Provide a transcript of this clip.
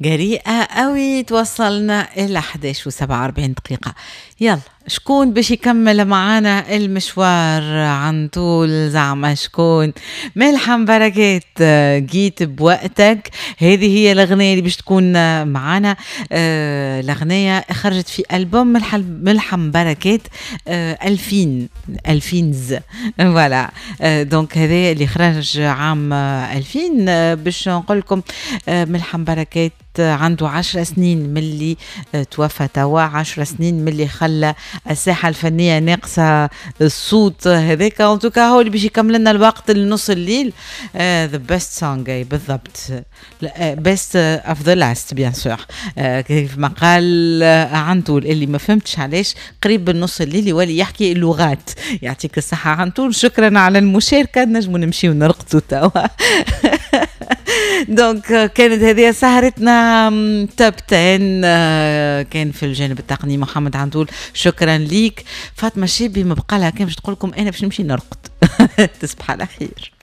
جريئة قوي. توصلنا إلى 11 و47 دقيقة. يلا، شكون باش يكمل معانا المشوار عن طول؟ زعما شكون؟ ملحم بركات، جيت بوقتك. هذه هي الأغنية اللي باش تكون معانا. الأغنية خرجت في ألبوم ملحم بركات 2000 2000، voilà. donc هذا اللي خرج عام 2000. باش نقول لكم ملحم بركات عنده 10 سنين ملي توفى توا، 10 سنين ملي خلى الساحة الفنية ناقصة الصوت هذاك. en tout cas هو اللي باش يكمل لنا الوقت لنص الليل. the best song بالضبط، best of the last bien sûr، كيف ما قال عنتول، اللي ما فهمتش علاش قريب بالنص الليل يولي يحكي اللغات. يعطيك الصحة عنتول، شكرا على المشاركة. نجموا نمشيو نرقدوا توا. donc كانت هذه سهرتنا top 10. كان في الجانب التقني محمد عندول، شكرا ليك. فاطمة الشابي ما بقى لها كان باش تقول لكم انا باش نمشي نرقد. تصبح على خير.